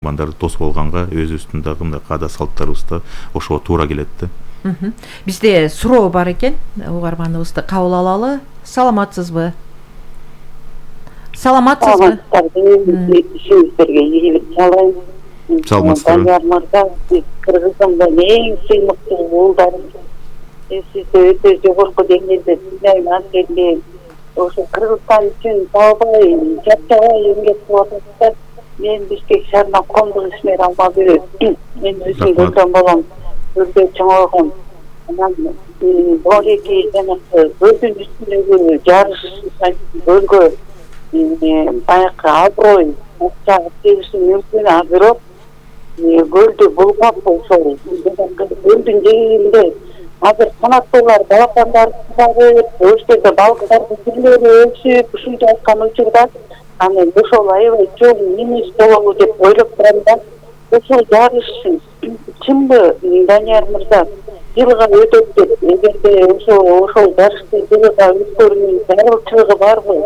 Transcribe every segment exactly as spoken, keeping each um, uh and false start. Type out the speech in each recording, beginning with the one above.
мандарды тосуп алганга өзүбүздүн дагы мындай каада салттарыбызда ошого туура келет да. Бизде суроо бар экен, угарманыбызды кабыл алалы. Саламатсызбы? Саламатсызбы? Сиздерге ийгилик каалайм. Саламатсызбы? Кыргызстандын эң сыймыктуу уулдарым. Сизди өтө жогорку деңгээлде сыйлайм. Анткени ошо Кыргызстан үчүн табай, чапчабай эмгек кылып атасыздар. Мен Бишкек шаарына коомдук ишмер Алмабү. Мен өзүм көргөн болом. Өрдө чоңойгон. Анан бореки жанагы өрдүн үстүндөгү жарыш бөлгө баягы аброй акча тийиши мүмкүн, а бирок көлдү булгап ошол көлдүн жээгинде азыр канаттуулар балапандарды чыгарып, ошол жерде балыктардын түрлөрү өсүп ушунча айткан учурда анан ошол аябай чоң немис болобу деп ойлоп турам да. Ошол жарыш чынбы, Данияр мырза? Жылга өтөт деп, эгерде ошол ошол жарышты жылга өткөрүүнүн зарылчылыгы барбы?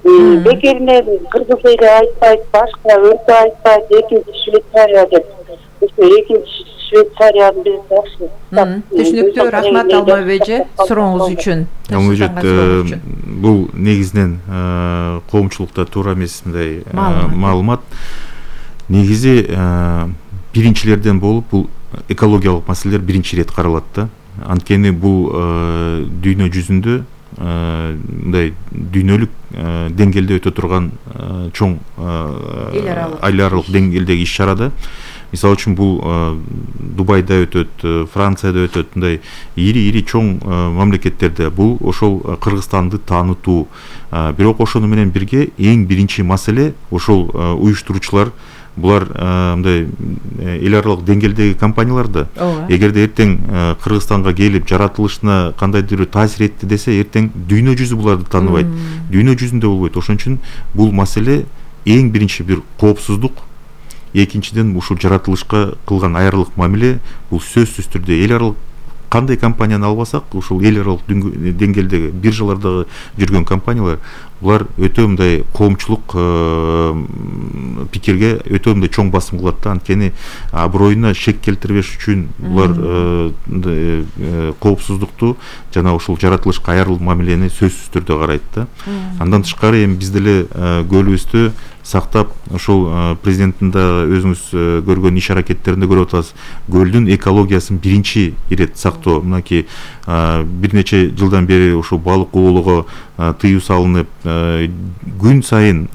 Бекеринен кыргыз эли айтпайт, башка өлкө айтпайт, экинчи Швейцария деп. Ошо экинчи Швейцарияны биз жакшы. Түшүнүктүү, рахмат Алмабек эже, сурооңуз үчүн. Алмабек, бул негизинен коомчулукта туура эмес мындай маалымат. Негизи биринчилерден болуп бул экологиялык маселелер биринчи ирет каралат да. Анткени бул дүйнө жүзүндө мындай дүйнөлүк деңгээлде өтө турган чоң эл аралык деңгээлдеги иш чарада. Мисалы үчүн бул Дубайда өтөт, Францияда өтөт, мындай ири-ири чоң мамлекеттерде бул ошол Кыргызстанды таанытуу. Бирок ошону менен бирге эң биринчи маселе ошол уюштуруучулар, булар мындай эл аралык деңгээлдеги компаниялар да. Эгерде эртең Кыргызстанга келип жаратылышына кандайдыр таасир этти десе, эртең дүйнө жүзү буларды тааныбайт. Дүйнө жүзүндө болбойт. Ошон үчүн бул маселе эң биринчи бир коопсуздук. Экинчиден ушул жаратылышка кылган айрылык мамиле бул сөзсүз түрдө эл аралык кандай компанияны албасак, ушул эл аралык деңгээлдеги биржалардагы жүргөн компаниялар булар өтө мындай коомчулук пикирге өтө мындай чоң басым кылат да. Анткени аброюна шек келтирбеш үчүн булар коопсуздукту жана ушул жаратылышка айрылык мамилени сөзсүз түрдө карайт да. Андан тышкары эми биз деле көлүбүздү сактап, ошол президенттин да өзүңүз көргөн иш аракеттеринде көрүп атасыз. Көлдүн экологиясын биринчи ирет сактоо. Мынакей бир нече жылдан бери ушул балык оолоого тыюу салынып, күн сайын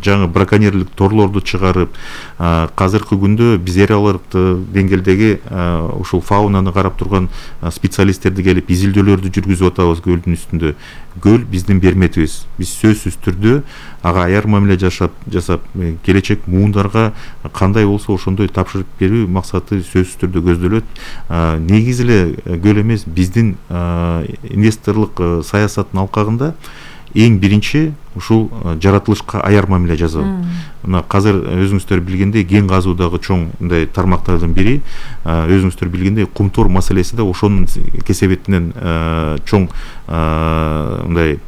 жаңы браконьерлик торлорду чыгарып, азыркы күндө биз эл аралык деңгээлдеги ушул фаунаны карап турган специалисттерди келип изилдөөлөрдү жүргүзүп атабыз көлдүн үстүндө. Көл биздин берметибиз. Биз сөзсүз түрдө ага аяр мамиле жашап, жасап, келечек муундарга кандай болсо ошондой тапшырып берүү максаты сөзсүз түрдө көздөлөт. Негизи эле көл эмес, биздин инвесторлук саясаттын алкагында эң биринчи ушул жаратылышка аяр мамиле жасоо. Мына азыр өзүңүздөр билгендей кен казуудагы чоң мындай тармактардын бири, өзүңүздөр билгендей кумтор маселеси да ошонун кесебетинен чоң мындай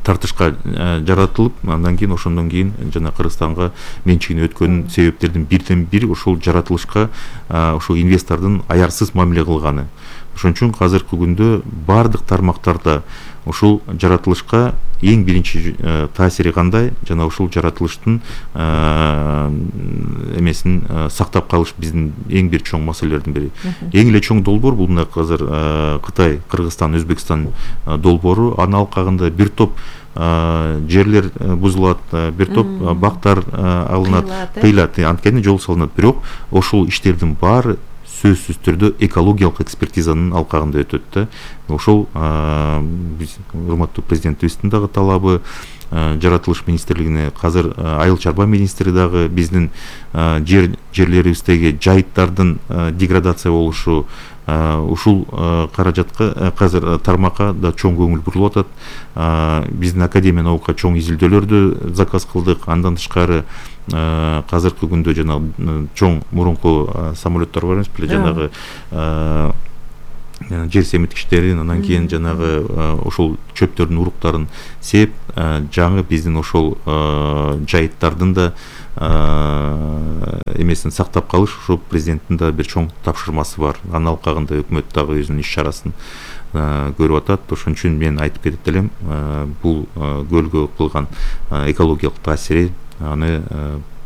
тартышка жаратылып, андан кийин ошондон кийин жана Кыргызстанга менчигине өткөн себептердин бирден бири ушул жаратылышка ушул инвестордун аярсыз мамиле кылганы. Ошон үчүн азыркы күндө бардык тармактарда ушул жаратылышка эң биринчи таасири кандай жана ушул жаратылыштын эмесин сактап калыш биздин эң бир чоң маселелердин бири. Эң эле чоң долбоор бул мына азыр Кытай, Кыргызстан, Өзбекстан долбоору. Анын алкагында бир топ жерлер бузулат, бир топ бактар алынат, тыйылат, анткени жол салынат. Бирок ошол иштердин баары сөзсүз түрдө экологиялык экспертизанын алкагында өтөт да. Ошол урматтуу президентибиздин дагы талабы, жаратылыш министрлигине азыр айыл чарба министри дагы биздин жер жерлерибиздеги жайыттардын деградация болушу, ушул каражатка азыр тармакка да чоң көңүл бурулуп атат. Биздин академия наука чоң изилдөөлөрдү заказ кылдык. Андан тышкары азыркы күндө жана чоң мурунку самолеттор бар эмес беле, жанагы жер семирткичтерин, андан кийин жанагы ошол чөптөрдүн уруктарын сеп, жаңы биздин ошол жайыттардын да эмесин сактап калыш ошо президенттин да бир чоң тапшырмасы бар. Анын алкагында өкмөт дагы өзүнүн иш чарасын көрүп атат. Ошон үчүн мен айтып кетет элем, бул көлгө кылган экологиялык таасири аны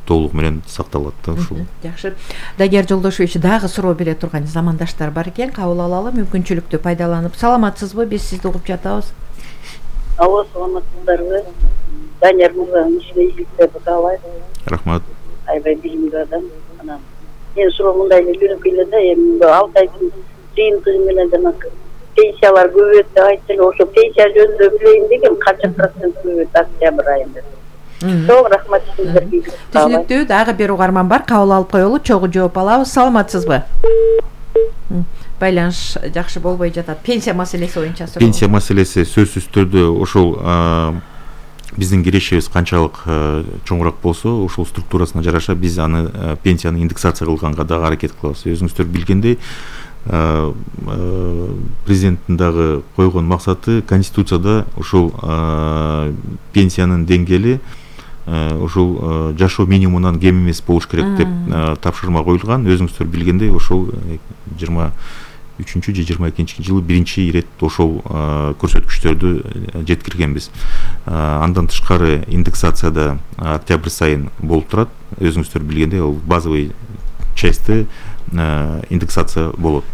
толугу менен сакталат да ушул. Жакшы. Данияр Жолдошевич, дагы суроо бере турган замандаштар бар экен, кабыл алалы, мүмкүнчүлүктү пайдаланып. Саламатсызбы? Биз сизди угуп жатабыз. Ооба, саламатсыздарбы? Данияр мырзанын ишине ийгиликтерди каалайм. Рахмат. Аябай билимдүү адам. Анан мен суроо мындай эле жөнөкөй эле да, эми алты айдын жыйынтыгы менен жана пенсиялар көбөйөт деп айтты эле, ошо пенсия жөнүндө билейин дегем, канча процент көбөйөт октябрь айында. Чоң рахмат сиздерге. Түшүнүктүү. Дагы бир угарман бар, кабыл алып коелу, чогуу жооп алабыз. Саламатсызбы? Байланыш жакшы болбой жатат. Пенсия маселеси боюнча суроо. Пенсия маселеси сөзсүз түрдө ошол биздин кирешибиз канчалык чоңураак болсо, ошол структурасына жараша биз аны пенсияны индексация кылганга дагы аракет кылабыз. Өзүңүздөр билгендей, президенттин дагы койгон максаты конституцияда ошол пенсиянын деңгээли ошол жашоо минимумунан кем эмес болуш керек деп тапшырма коюлган. Өзүңүздөр билгендей, ошол жыйырма үчүнчү же жыйырма экинчи жылы биринчи ирет ошол көрсөткүчтөрдү жеткиргенбиз. Андан тышкары индексацияда октябрь сайын болуп турат. Өзүңүздөр билгендей, ал базовый части индексация болот.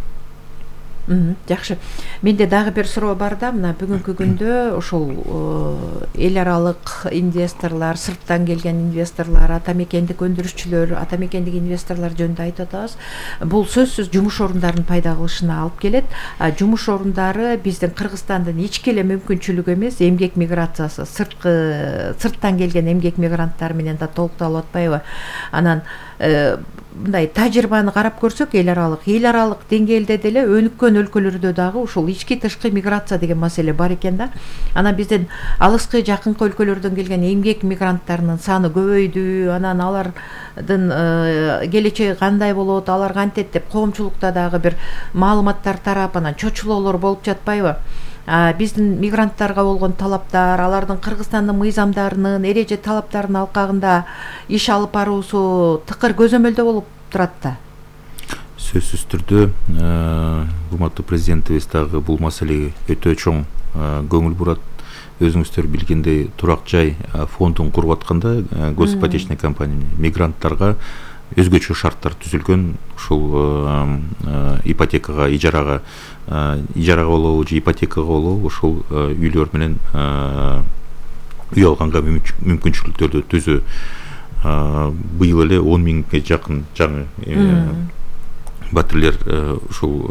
Жакшы. Менде дагы бир суроо бар да, мына бүгүнкү күндө ошол эл аралык инвесторлор, сырттан келген инвесторлор, ата мекендик өндүрүшчүлөр, ата мекендик инвесторлор жөнүндө айтып атабыз. Бул сөзсүз жумуш орундарын пайда кылышына алып келет. Жумуш орундары биздин Кыргызстандын ички эле мүмкүнчүлүгү эмес, эмгек миграциясы, сырткы сырттан келген эмгек мигранттар менен да толукталып атпайбы? Анан мындай тажрыйбаны карап көрсөк, эл аралык, эл аралык деңгээлде деле өнүккөн өлкөлөрдө дагы ушул ички тышкы миграция деген маселе бар экен да. Анан биздин алыскы жакынкы өлкөлөрдөн келген эмгек мигранттарынын саны көбөйдү. Анан алардын келечеги кандай болот, алар кантет деп коомчулукта дагы бир маалыматтар тарап, анан чочулоолор болуп жатпайбы? Биздин мигранттарга болгон талаптар, алардын Кыргызстандын мыйзамдарынын, эреже талаптарынын алкагында иш алып баруусу тыкыр көзөмөлдө болуп турат да. Сөзсүз түрдө урматтуу президентибиз дагы бул маселеге өтө чоң көңүл бурат. Өзүңүздөр билгендей, турак жай фондун куруп атканда госипотечный компания мигранттарга өзгөчө шарттар түзүлгөн. Ушул ипотекага, ижарага, ижарага болобу же ипотекага болобу, ошол үйлөр менен үй алганга мүмкүнчүлүктөрдү түзүү. Быйыл эле он миңге жакын жаңы батирлер ушул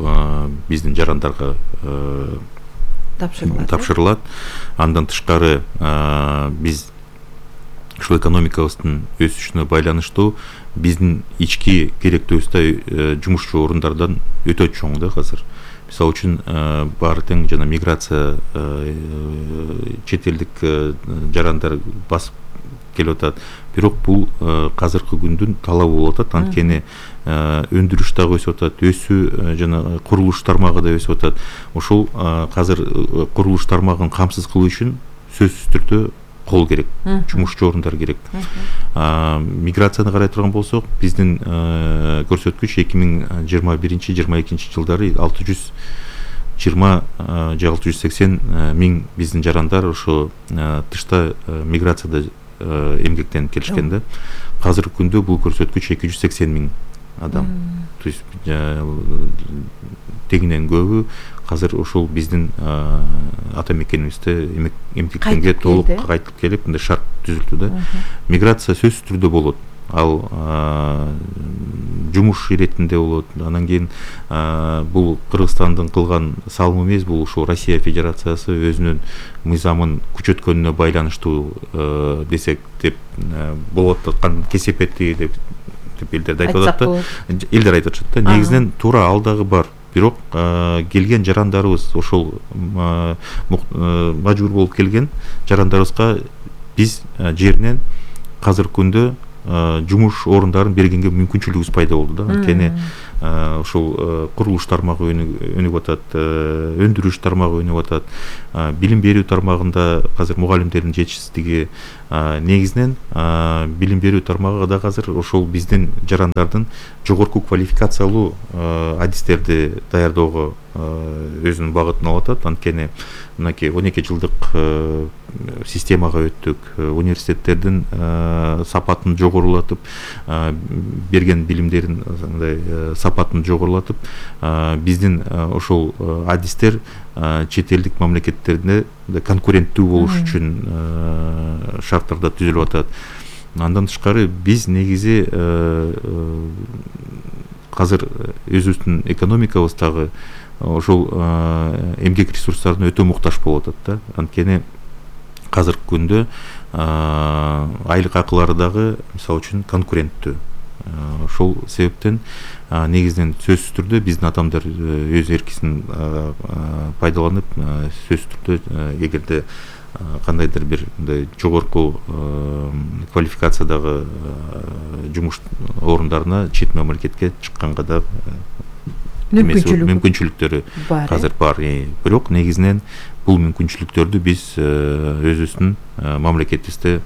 биздин жарандарга тапшырылат. Андан тышкары биз ушул экономикабыздын өсүшүнө байланыштуу биздин ички керектөөбүз да жумушчу орундардан өтө чоң да азыр. Мисалы үчүн баары тең жана миграция чет элдик жарандар басып келип атат. Бирок бул азыркы күндүн талабы болуп атат. Анткени өндүрүш дагы өсүп атат, өсүү жана курулуш тармагы да өсүп атат. Ошол азыр курулуш тармагын камсыз кылуу үчүн сөзсүз түрдө кол керек, жумушчу орундар керек. Миграцияны карай турган болсок, биздин көрсөткүч эки миң жыйырма биринчи жыйырма экинчи жылдары алты жүз жыйырма же алты жүз сексен миң биздин жарандар ошо тышта миграцияда эмгектенип келишкен да. Азыркы күндө бул көрсөткүч эки жүз сексен миң адам. То есть тегинен көбү азыр ошол биздин ата мекенибизде эмгектенгенге толук кайтып келип, мындай шарт түзүлдү да. Миграция сөзсүз түрдө болот. Ал жумуш иретинде болот. Анан кийин бул Кыргызстандын кылган салымы эмес, бул ушул Россия Федерациясы өзүнүн мыйзамын күчөткөнүнө байланыштуу десек деп болуп аткан кесепети деп элдер айтып атат да. Элдер айтып атышат да. Негизинен туура ал дагы бар. Бирок келген жарандарыбыз, ошол мажбур болуп келген жарандарыбызга биз жеринен азыркы күндө жумуш орундарын бергенге мүмкүнчүлүгүбүз пайда болду да. Анткени ошол курулуш тармагы өнүгүп атат, өндүрүш тармагы өнүгүп атат, билим берүү тармагында азыр мугалимдердин жетишсиздиги, негизинен билим берүү тармагы да азыр ошол биздин жарандардын жогорку квалификациялуу адистерди даярдоого өзүнүн багытын алып атат. Анткени мынакей он эки жылдык системага өттүк, университеттердин сапатын жогорулатып, берген билимдерин мындай сапатын жогорулатып, биздин ошол адистер чет элдик мамлекеттерде конкуренттүү болуш үчүн шарттарда түзүлүп атат. Андан тышкары биз негизи азыр өзүбүздүн экономикабыздагы ошол эмгек ресурстарына өтө муктаж болуп атат да. Анткени азыркы күндө айлык акылары дагы мисалы үчүн конкуренттүү. Ошол себептен негизинен сөзсүз түрдө биздин адамдар өз эркисин пайдаланып, сөзсүз түрдө эгерде кандайдыр бир мындай жогорку квалификациядагы жумуш орундарына чет мамлекетке чыкканга да мүмкүнчүлүктөрү азыр бар. Бирок негизинен бул мүмкүнчүлүктөрдү биз өзүбүздүн мамлекетибизде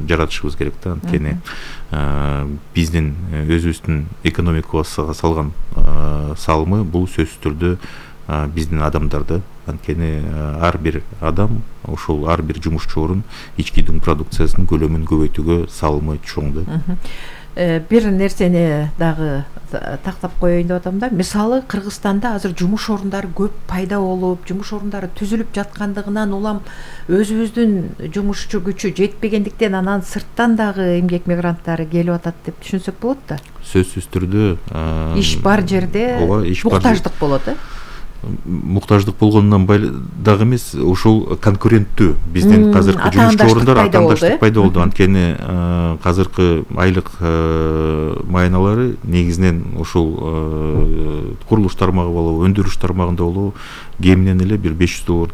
жаратышыбыз керек да. Анткени биздин өзүбүздүн экономикабызга салган салымы бул сөзсүз түрдө биздин адамдарды. Анткени ар бир адам ошол ар бир жумушчу орун ички дүң продукциясынын көлөмүн көбөйтүүгө салымы чоң да. Бир нерсени дагы тактап коеюн деп атам да. Мисалы Кыргызстанда азыр жумуш орундары көп пайда болуп, жумуш орундары түзүлүп жаткандыгынан улам өзүбүздүн жумушчу күчү жетпегендиктен анан сырттан дагы эмгек мигранттары келип атат деп түшүнсөк болот да. Сөзсүз түрдө иш бар жерде муктаждык болот э. Муктаждык болгондон дагы эмес, ошол конкуренттүү биздин азыркы жумушчу орундар атаандаштык пайда болду. Анткени азыркы айлык майналары негизинен ошол курулуш тармагы болобу, өндүрүш тармагында болобу кеминен эле бир беш жүз доллар,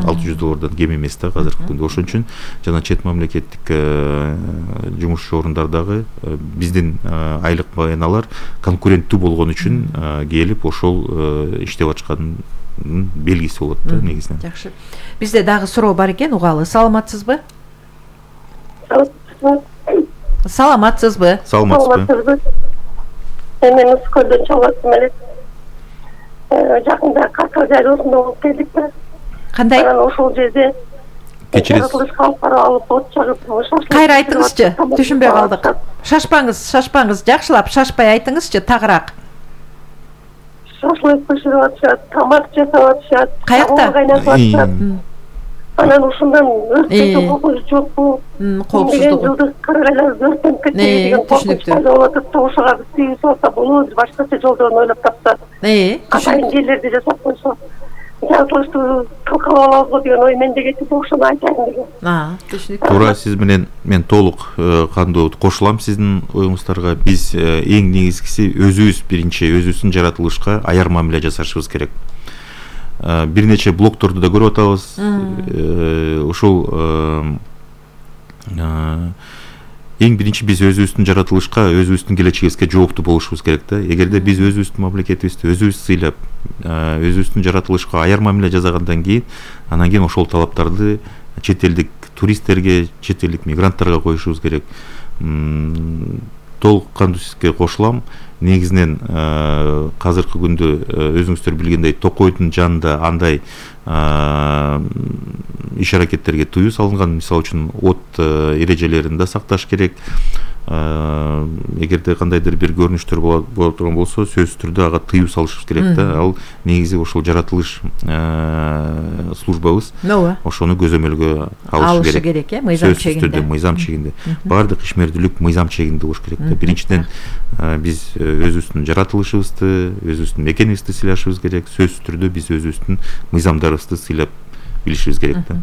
алты жүз доллардан кем эмес да азыркы күндө. Ошон үчүн жана чет мамлекеттик жумушчу орундар дагы биздин айлык майналар конкуренттүү болгон үчүн келип ошол иштеп атышканын белгиси болот да негизинен. Жакшы. Бизде дагы суроо бар экен, угалы. Саламатсызбы? Саламатсызбы? Саламатсызбы? Мен Ускөлдөн чыгып аттым эле. Жакында Каскар жарыйсында болуп келдик да. Кандай? Анан ошол жерде кечиресиз. Алып от чагып, кайра айтыңызчы, түшүнбөй калдык. Шашпаңыз, шашпаңыз, жакшылап шашпай айтыңызчы, тагыраак. Шашлык пышырып атышат, тамак жасап атышат, каякта кайнатып атышат. Анан ушундан өрттөккө кокуш жокпу? Коопсуздугу. Жылдык кыргайлар өрттөнүп кетти деген коркунуч пайда болуп атат да, ошого биз тийгиз алса болот, башкача жолдорун ойлоп тапса. Э, Атайын жерлерди жасап койсо, жаратылышты талкалап алабыз деген ой менде кетип, ошону айтайын деген. А, түшүнүктүү. Туура, сиз менен мен толук кандуу кошулам сиздин оюңуздарга. Биз эң негизгиси өзүбүз биринчи өзүбүздүн жаратылышка аяр мамиле жасашыбыз керек. Бир нече блогторду да көрүп атабыз. Ошол эң биринчи биз өзүбүздүн жаратылышка, өзүбүздүн келечегибизге жооптуу болушубуз керек да. Эгерде биз өзүбүздүн мамлекетибизди өзүбүз сыйлап, өзүбүздүн жаратылышка аяр мамиле жасагандан кийин, анан кийин ошол талаптарды чет элдик туристтерге, чет элдик мигранттарга коюшубуз керек. Толук кандуу сизге кошулам. Негизинен азыркы күндө өзүңүздөр билгендей Токойдун жанында андай иш аракеттерге тыюу салынган. Мисалы үчүн от эрежелерин да сакташ керек. Эгерде кандайдыр бир көрүнүштөр боло турган болсо, сөзсүз түрдө ага тыюу салышыбыз керек да. Ал негизи ошол жаратылыш службабыз ошону көзөмөлгө алышы керек. Мыйзам чегинде. Сөзсүз түрдө мыйзам чегинде. Баардык ишмердүүлүк мыйзам чегинде болуш керек да. Биринчиден биз өзүбүздүн жаратылышыбызды, өзүбүздүн мекенибизди сыйлашыбыз керек. Сөзсүз түрдө биз өзүбүздүн мыйзамдарыбызды сыйлап билишибиз керек да.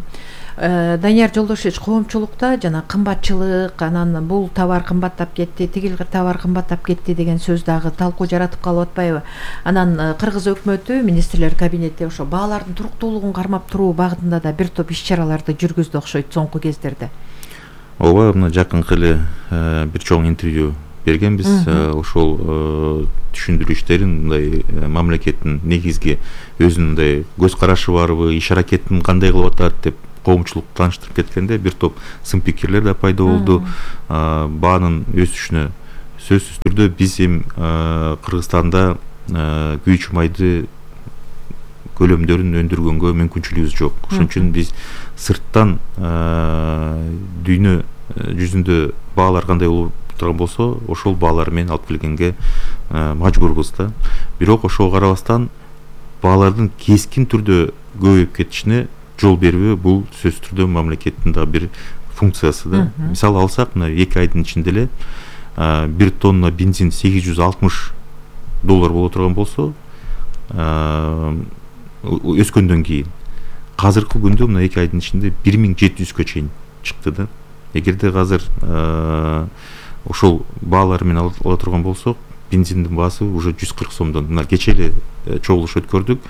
Данияр Жолдошевич, коомчулукта жана кымбатчылык, анан бул товар кымбаттап кетти, тигил товар кымбаттап кетти деген сөз дагы талкуу жаратып калып атпайбы? Анан Кыргыз өкмөтү, министрлер кабинети ошо баалардын туруктуулугун кармап туруу багытында да бир топ иш чараларды жүргүздү окшойт соңку кездерде. ооба, мына жакынкы эле бир чоң интервью бергенбиз. Ошол түшүндүрүү иштерин мындай мамлекеттин негизги өзүнүн мындай көз карашы барбы, иш аракетин кандай кылып атат деп коомчулук тааныштырып кеткенде бир топ сын пикирлер да пайда болду. Баанын өсүшүнө сөзсүз түрдө биз эми Кыргызстанда күйүүчү майды көлөмдөрүн өндүргөнгө мүмкүнчүлүгүбүз жок. Ошон үчүн биз сырттан дүйнө жүзүндө баалар кандай болуп турган болсо, ошол баалар менен алып келгенге мажбурбуз да. Бирок ошого карабастан баалардын кескин түрдө көбөйүп кетишине жол бербөө бул сөзсүз түрдө мамлекеттин да бир функциясы да. Мисалы алсак, мына эки айдын ичинде эле бир тонна бензин сегиз жүз алтымыш доллар боло турган болсо, өскөндөн кийин азыркы күндө мына эки айдын ичинде бир миң жети жүзгө чейин чыкты да. Эгерде азыр ошол баалар менен ала турган болсок, бензиндин баасы уже жүз кырк сомдон. Мына кечээ эле чогулуш өткөрдүк.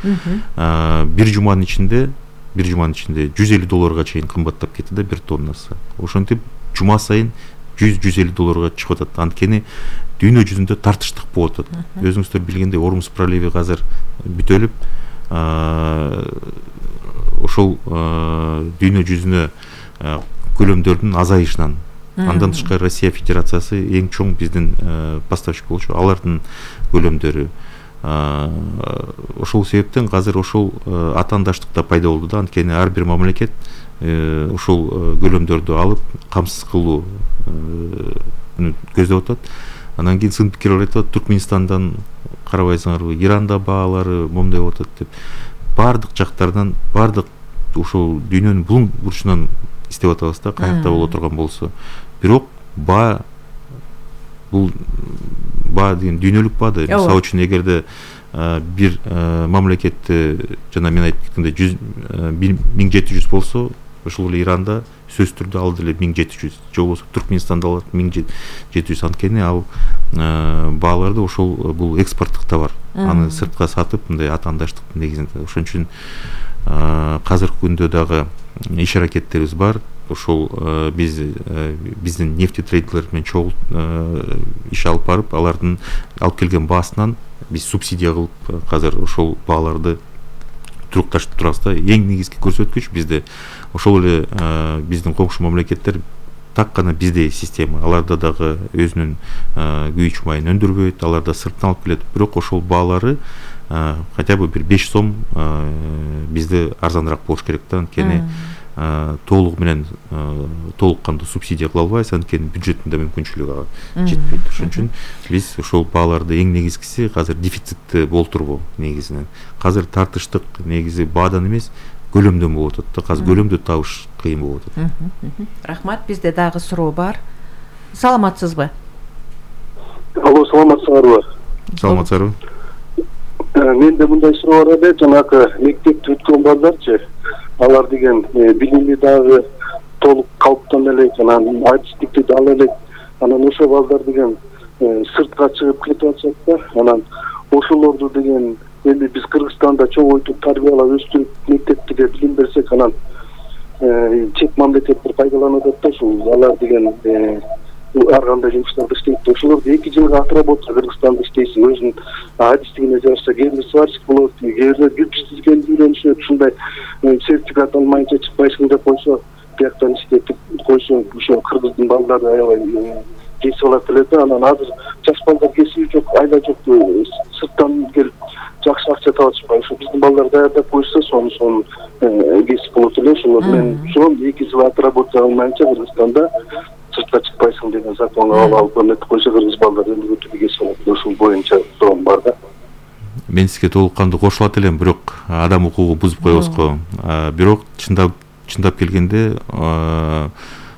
Бир жуманын ичинде бир жуманын ичинде жүз элүү долларга чейин кымбаттап кетти да бир тоннасы. Ошентип жума сайын жүз жүз элүү долларга чыгып атат. Анткени дүйнө жүзүндө тартыштык болуп атат. Өзүңүздөр билгендей, Ормуз проливи азыр бүтөлүп, ошол дүйнө жүзүнө көлөмдөрдүн азайышынан, андан тышкары Россия Федерациясы эң чоң биздин поставщик болчу, алардын көлөмдөрү. Ошол себептен азыр ошол атаандаштык да пайда болду да. Анткени ар бир мамлекет ошол көлөмдөрдү алып камсыз кылуу көздөп атат. Анан кийин сын пикирлер айтат, Түркменистандан карабайсыңарбы, Иранда баалары момундай болуп атат деп. Бардык жактардан, бардык ошол дүйнөнүн булуң бурчунан издеп атабыз да, каякта боло турган болсо. Бирок баа бул баа деген дүйнөлүк баа да. Мисалы үчүн эгерде бир мамлекетте жана мен айтып кеткендей миң жети жүз болсо, ошол эле Иранда сөзсүз түрдө ал деле миң жети жүз, же болбосо Түркменистанда алат миң жети жүз. Анткени ал бааларды ошол бул экспорттук товар. Аны сыртка сатып, мындай атаандаштыктын негизинде. Ошон үчүн азыркы күндө дагы иш аракеттерибиз бар. Ошол биз биздин нефтетрейдерлер менен чогуу иш алып барып, алардын алып келген баасынан биз субсидия кылып азыр ошол бааларды турукташып турабыз да. Эң негизги көрсөткүч бизде ошол эле биздин коңшу мамлекеттер так гана биздей система. Аларда дагы өзүнүн күйүүчү майын өндүрбөйт, аларда сырттан алып келет. Бирок ошол баалары хотя бы бир беш сом бизде арзаныраак болуш керек да. Анткени толугу менен толук кандуу субсидия кыла албайбыз, анткени бюджеттин мүмкүнчүлүгү ага жетпейт. Ошон үчүн биз ошол бааларды эң негизгиси азыр дефицитти болтурбоо негизинен. Азыр тартыштык негизи баадан эмес, көлөмдөн болуп атат да. Азыр көлөмдү табыш кыйын болуп атат. Рахмат. Бизде дагы суроо бар. Саламатсызбы? Алло, саламатсыңарбы? Саламатсызбы? Менде мындай суроо бар эле, жанагы мектепти бүткөн балдарчы, алар деген билими дагы толук калыптан элек, анан адистикти да ала элек, анан ошол балдар деген сыртка чыгып кетип атышат да. Анан ошолорду деген эми биз Кыргызстанда чоңойтуп тарбиялап өстүрүп мектепте билим берсек, анан чет мамлекеттер пайдаланып атат да. Ушул алар деген ар кандай жумуштарды иштейт. Ошолорду эки жылга отработка Кыргызстанда иштейсиң, өзүнүн адистигине жараша кээде сварщик болот, кээде кирпиччиликти үйрөнүшөт, ушундай сертификат алмайынча чыкпайсың деп койсо, бияктан иштетип койсо, ошо кыргыздын балдары аябай кесип алат эле да. Анан азыр жаш балдар кесиби жок, айла жок, сырттан келип жакшы акча таап атышпайбы? Ошо биздин балдар даярдап койсо, сону сону кесип болот эле. Ошолор менен ошол эки жыл отработка алмайынча Кыргызстанда сыртка чыкпайсың деген законго алып өтүп койсо, кыргыз балдары эми өтүп кесип алат. Ошол боюнча суроом бар да. Мен сизге толук кандуу кошулат элем, бирок адам укугу бузуп коебуз го. Бирок чындап чындап келгенде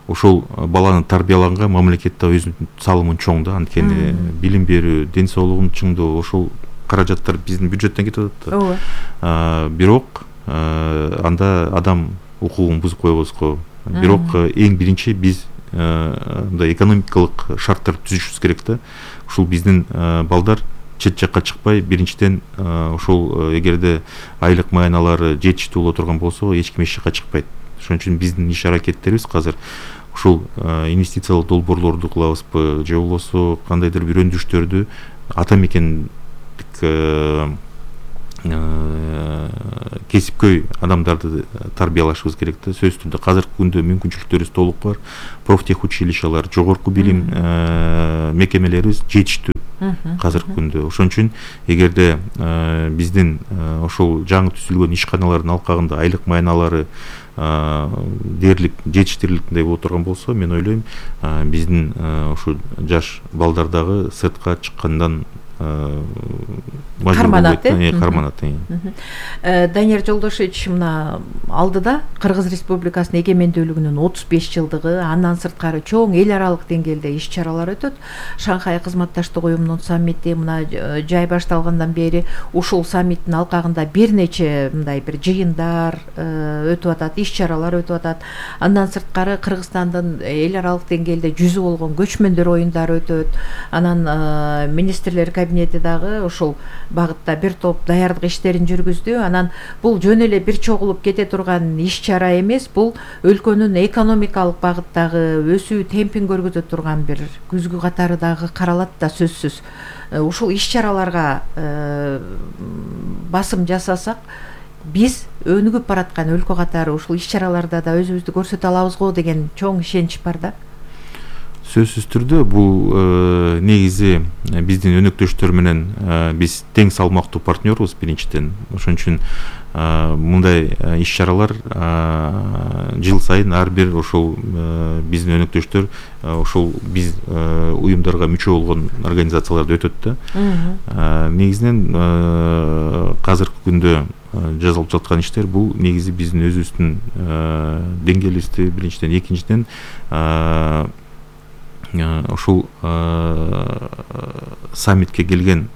ошол баланы тарбиялаганга мамлекет да өзүнүн салымын чоң да. Анткени билим берүү, ден соолугун чыңдоо, ошол каражаттар биздин бюджеттен кетип атат да. Бирок анда адам укугун бузуп коебуз го. Бирок эң биринчи биз мындай экономикалык шарттар түзүшүбүз керек да. Ушул биздин балдар чет жакка чыкпай, биринчиден ошол эгерде айлык маяналары жетиштүү боло турган болсо, эч ким эч жакка чыкпайт. Ошон үчүн биздин иш аракеттерибиз азыр ушул инвестициялык долбоорлорду кылабызбы же болбосо кандайдыр бир өндүрүштөрдү ата мекендик кесипкөй адамдарды тарбиялашыбыз керек да. Сөзсүз түрдө азыркы күндө мүмкүнчүлүктөрүбүз толук бар. Профтехучилищалар, жогорку билим мекемелерибиз жетиштүү азыркы күндө. Ошон үчүн эгерде биздин ошол жаңы түзүлгөн ишканалардын алкагында айлык майналары дээрлик жетиштирилгендей боло турган болсо, мен ойлойм биздин ошо жаш балдар дагы сыртка чыккандан карманат. карманат. Данияр Жолдошевич мына алдыда Кыргыз Республикасынын эгемендүүлүгүнүн отуз беш жылдыгы, андан сырткары чоң эл аралык деңгээлде иш чаралар өтөт. Шанхай кызматташтык уюмунун саммити мына жай башталгандан бери ушул саммиттин алкагында бир нече мындай бир жыйындар өтүп атат, иш чаралар өтүп атат. Андан сырткары Кыргызстандын эл аралык деңгээлде жүзү болгон көчмөндөр оюндары өтөт. Анан министрлер кабинети дагы ушул багытта бир топ даярдык иштерин жүргүздү. Анан бул жөн эле бир чогулуп кете турган иш чара эмес, бул өлкөнүн экономикалык багыттагы өсүү темпин көргөзө турган бир күзгү катары дагы каралат да сөзсүз. Ушул иш чараларга басым жасасак, биз өнүгүп бараткан өлкө катары ушул иш чараларда да өзүбүздү көрсөтө алабыз го деген чоң ишенич бар да. Сөзсүз түрдө бул негизи биздин өнөктөштөр менен биз тең салмактуу партнербуз биринчиден. Ошон үчүн мындай иш чаралар жыл сайын ар бир ошол биздин өнөктөштөр ошол биз уюмдарга мүчө болгон организацияларда өтөт да. Негизинен азыркы күндө жазылып жаткан иштер бул негизи биздин өзүбүздүн деңгээлибизди биринчиден, экинчиден ошол саммитке келген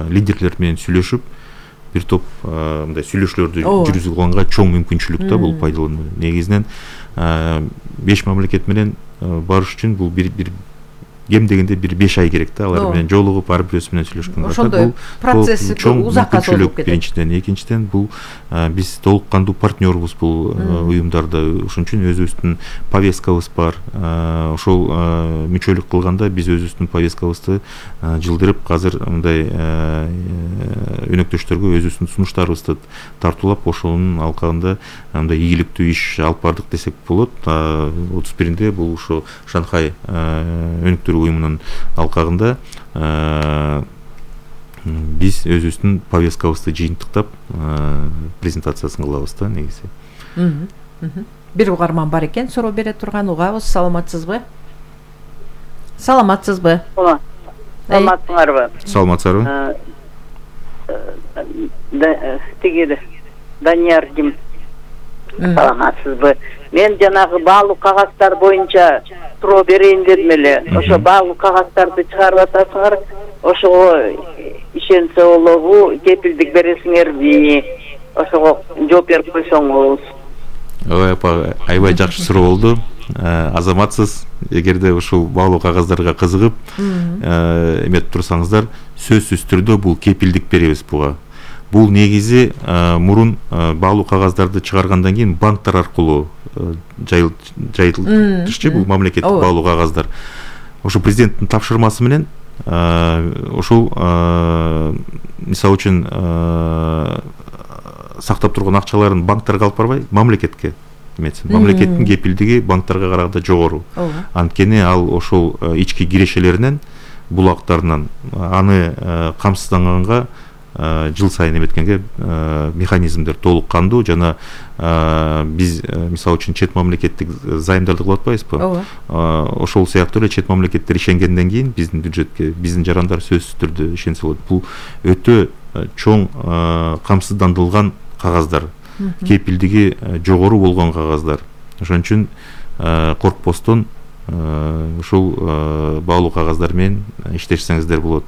лидерлер менен сүйлөшүп, бир топ мындай сүйлөшүүлөрдү жүргүзүп алганга чоң мүмкүнчүлүк да бул пайдалануу. Негизинен беш мамлекет менен барыш үчүн бул бир бир кем дегенде бир беш ай керек да, алар менен жолугуп ар бирөөсү менен сүйлөшкөнгө. Ошондой процесс узакка созулуп кетет. Биринчиден, экинчиден бул биз толук кандуу партнербуз бул уюмдарда. Ошон үчүн өзүбүздүн повесткабыз бар. Ошол мүчөлүк кылганда биз өзүбүздүн повесткабызды жылдырып, азыр мындай өнөктөштөргө өзүбүздүн сунуштарыбызды тартуулап, ошонун алкагында мындай ийгиликтүү иш алып бардык десек болот. отуз биринде бул ошо Шанхай өнөктөр уюмунун алкагында биз өзүбүздүн повесткабызды жыйынтыктап презентациясын кылабыз да негизи. Бир угарман бар экен, суроо бере турган. Угабыз. Саламатсызбы? Саламатсызбы? Саламатсыңарбы? Саламатсызбы? Тиги Данияр Дим. Саламатсызбы? Мен жанагы баалуу кагаздар боюнча суроо берейин дедим эле. Ошо баалуу кагазтарды чыгарып атасыңар, ошого ишенсе болобу, кепилдик бересиңерби? Ошого жооп берип койсоңуз. Ой, апа, аябай жакшы суроо болду. Азаматсыз, эгерде ушул баалуу кагаздарга кызыгып эметип турсаңыздар, сөзсүз түрдө бул кепилдик беребиз буга. Бул негизи мурун баалуу кагаздарды чыгаргандан кийин банктар аркылуу жайылтышчы бул мамлекеттик баалуу кагаздар. Ошо президенттин тапшырмасы менен ошол мисалы үчүн сактап турган акчаларын банктарга алып барбай, мамлекетке эметсин. Мамлекеттин кепилдиги банктарга караганда жогору. Анткени ал ошол ички кирешелеринен, булактарынан аны камсызданганга жыл сайын эметкенге механизмдер толук кандуу. Жана биз мисалы үчүн чет мамлекеттик займдарды кылып атпайбызбы? Ошол сыяктуу эле чет мамлекеттер ишенгенден кийин биздин бюджетке биздин жарандар сөзсүз түрдө ишенсе болот. Бул өтө чоң камсыздандырылган кагаздар, кепилдиги жогору болгон кагаздар. Ошон үчүн коркпостон ушул баалуу кагаздар менен иштешсеңиздер болот.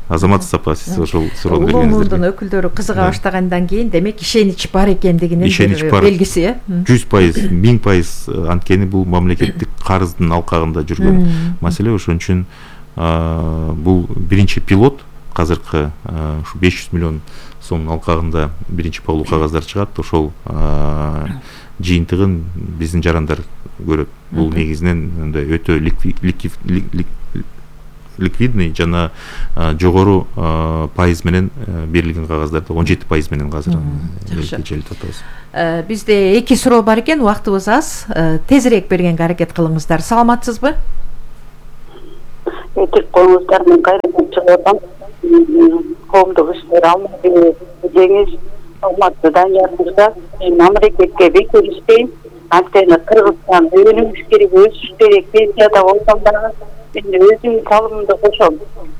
Азамат апа, сиз ошол суроону бергениңиздер. Улуумундун өкүлдөрү кызыга баштагандан кийин, демек ишенич бар экендигинин белгиси, э? жүз пайыз, миң пайыз, анткени бул мамлекеттик карыздын алкагында жүргөн маселе. Ошон үчүн бул биринчи пилот азыркы ушу беш жүз миллион сомдун алкагында биринчи баглуу кагаздар чыгат. Ошол жыйынтыгын биздин жарандар көрөт. Бул негизинен мындай өтө ликвидный жана жогору пайыз менен берилген кагаздарды он жети пайыз менен азыр келип атабыз. Бизде эки суроо бар экен, убактыбыз аз. Тезирээк бергенге аракет кылыңыздар. Саламатсызбы? Этип коюңуздар, мен кайрадан чыгып атам. Коомдук иштер алмады жеңиш Алматы Даниярымызда мен мамлекетке бекер иштейм. Анткени Кыргызстан өнүгүш керек, өсүш керек, пенсияда болсом дагы мен өзүмдүн салымымды кошом.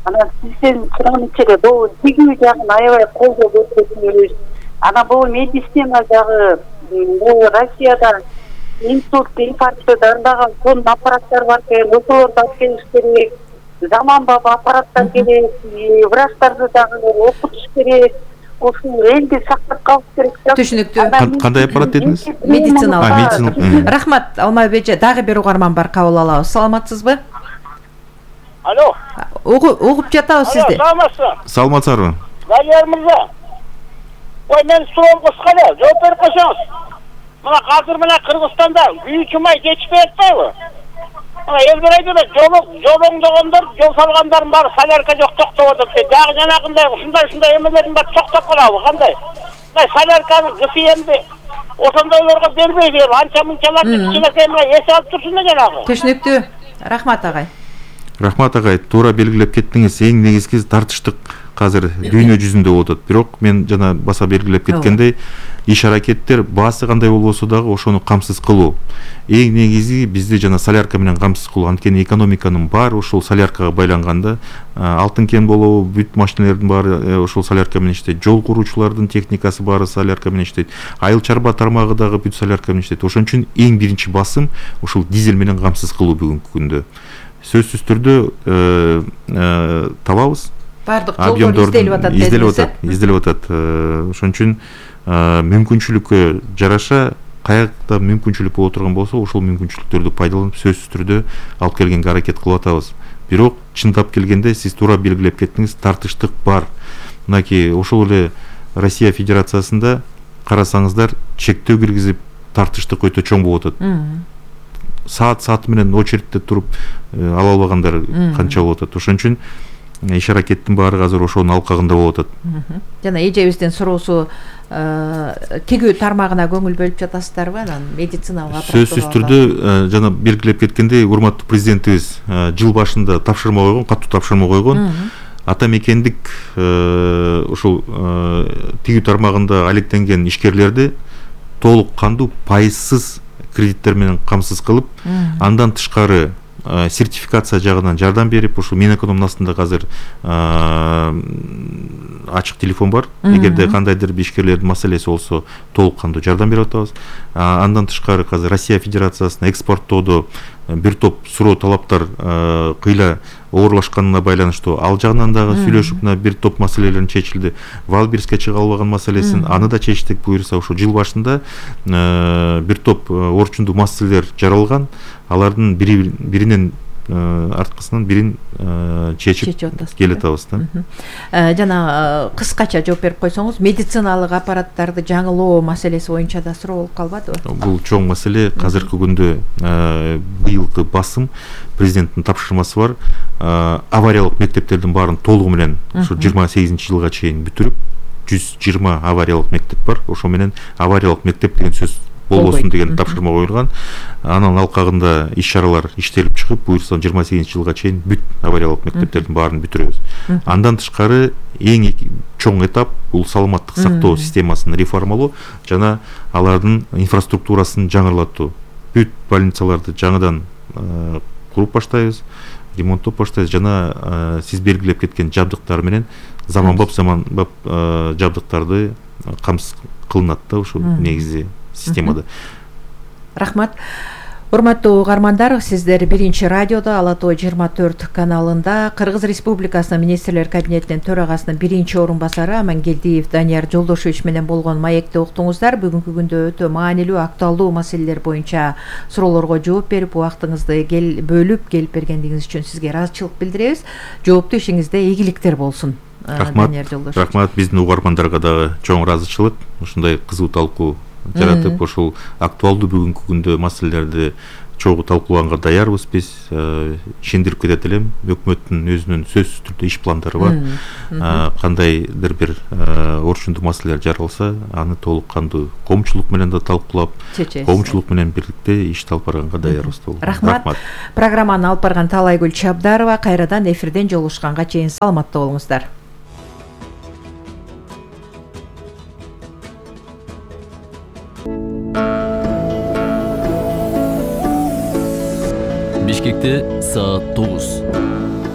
Анан сизден суранып эле бул тигүү жагын аябай колдоо көрсөтүңүз. Ана бул медицина жагы бул Россияда инсульт, инфарктты дарылаган сон аппараттар бар экен, ошолорду алып келиш керек. Заманбап аппараттар керек, врачтарды дагы окутуш керек. Ошол элди сактап калыш керек. Түшүнүктүү. Кандай аппарат дедиңиз? Медициналык. Рахмат, Алмайбек эже, дагы бир угарман бар, кабыл алабыз. Саламатсызбы? Алло. Угуп жатабыз сизди. Саламатсызбы? Саламатсызбы? Данияр мырза. Ой, мен суроом кыска эле, жооп берип койсоңуз. Мына азыр мына Кыргызстанда күйүүчү май жетишпей атпайбы? Мына эл берет эле, жол жолоңдогондор, жол салгандардын баары солярка жок токтоп атат. Дагы жанагындай ушундай-ушундай эмелердин баары токтоп калабы, кандай? Мына солярканын кысы эмди ошондойлорго бербейби, анча-мынчаларды кичинекей мына эс алып турсун да жанагы. Түшүнүктүү. Рахмат агай. Рахмат агай, туура белгилеп кеттиңиз. Эң негизги тартыштык азыр дүйнө жүзүндө болуп атат. Бирок мен жана баса белгилеп кеткендей, иш аракеттер баасы кандай болбосо дагы ошону камсыз кылуу. Эң негизи бизди жана солярка менен камсыз кылуу. Анткени экономиканын баары ошол соляркага байланганда, алтын кен болобу, бүт машиналердин баары ошол солярка менен иштейт. Жол куруучулардын техникасы баары солярка менен иштейт. Айыл чарба тармагы дагы бүт солярка менен иштейт. Ошон үчүн эң биринчи басым ушул дизель менен камсыз кылуу бүгүнкү күндө. Сөзсүз түрдө табабыз. Бардык жолдор изделип атат, изделип атат, изделип атат. Ошон үчүн мүмкүнчүлүккө жараша каякта мүмкүнчүлүк боло турган болсо, ошол мүмкүнчүлүктөрдү пайдаланып сөзсүз түрдө алып келгенге аракет кылып атабыз. Бирок чындап келгенде сиз туура белгилеп кеттиңиз, тартыштык бар. Мынакей ошол эле Россия Федерациясында карасаңыздар, чектөө киргизип тартыштык өтө чоң болуп атат. Саат сааты менен очередте туруп ала албагандар канча болуп атат. Ошон үчүн иш аракеттин баары азыр ошонун алкагында болуп атат. Жана эжебиздин суроосу тигүү тармагына көңүл бөлүп жатасыздарбы? Анан медициналык аппарат. Сөзсүз түрдө жана белгилеп кеткендей, урматтуу президентибиз жыл башында тапшырма койгон, катуу тапшырма койгон. Ата мекендик ушул тигүү тармагында алектенген ишкерлерди толук кандуу пайызсыз кредиттер менен камсыз кылып, андан тышкары сертификация жагынан жардам берип, ушул Минэкономдун астында азыр ачык телефон бар. Эгерде кандайдыр бир ишкерлердин маселеси болсо, толук кандуу жардам берип атабыз. Андан тышкары азыр Россия Федерациясына экспорттоодо бир топ суроо талаптар кыйла оорлашканына байланыштуу, ал жагынан дагы сүйлөшүп, мына бир топ маселелерин чечилди. Валбирске чыга албаган маселесин аны да чечтик. Буюрса ошо жыл башында бир топ орчундуу маселелер жаралган. Алардын бири биринен арткысынан бирин чечип келе атабыз да. Жана кыскача жооп берип койсоңуз, медициналык аппараттарды жаңылоо маселеси боюнча да суроо болуп калбадыбы? Бул чоң маселе. Азыркы күндө быйылкы басым президенттин тапшырмасы бар. Авариялык мектептердин баарын толугу менен ушу жыйырма сегизинчи жылга чейин бүтүрүп, жүз жыйырма авариялык мектеп бар. Ошо менен авариялык мектеп деген сөз болбосун деген тапшырма коюлган. Анын алкагында иш-чаралар иштелип чыгып, буюрса жыйырма сегизинчи жылга чейин бүт авариялык мектептердин баарын бүтүрөбүз. Андан тышкары эң чоң этап бул саламаттык сактоо системасын реформалоо жана алардын инфраструктурасын жаңыртуу. Бүт больницаларды жаңыдан куруп баштайбыз, ремонттоп баштайбыз жана сиз белгилеп кеткен жабдыктар менен заманбап заманбап жабдыктарды камсыз кылынат да ушул негизи системада. Рахмат. Урматтуу угармандар, сиздер биринчи радиодо Ала Тоо жыйырма төрт каналында Кыргыз Республикасынын министрлер кабинетинин төрагасынын биринчи орун басары Амангелдиев Данияр Жолдошевич менен болгон маекти уктуңуздар. Бүгүнкү күндө өтө маанилүү, актуалдуу маселелер боюнча суроолорго жооп берип, убактыңызды кел бөлүп келип бергендигиңиз үчүн сизге ыраазычылык билдиребиз. Жооптуу ишиңизде ийгиликтер болсун. Рахмат. Рахмат. Биздин угармандарга дагы чоң ыраазычылык. Ушундай кызуу талкуу жаратып, ошол актуалдуу бүгүнкү күндө маселелерди чогуу талкуулаганга даярбыз биз. Ишендирип кетет элем, өкмөттүн өзүнүн сөзсүз түрдө иш пландары бар. Кандайдыр бир орчундуу маселелер жаралса, аны толук кандуу коомчулук менен да талкуулап, коомчулук менен бирдикте ишти алып барганга даярбыз. Рахмат. Программаны алып барган Таалайгүл Чабдарова. Кайрадан эфирден жолугушканга чейин саламатта болуңуздар. Бишкекте саат тогуз.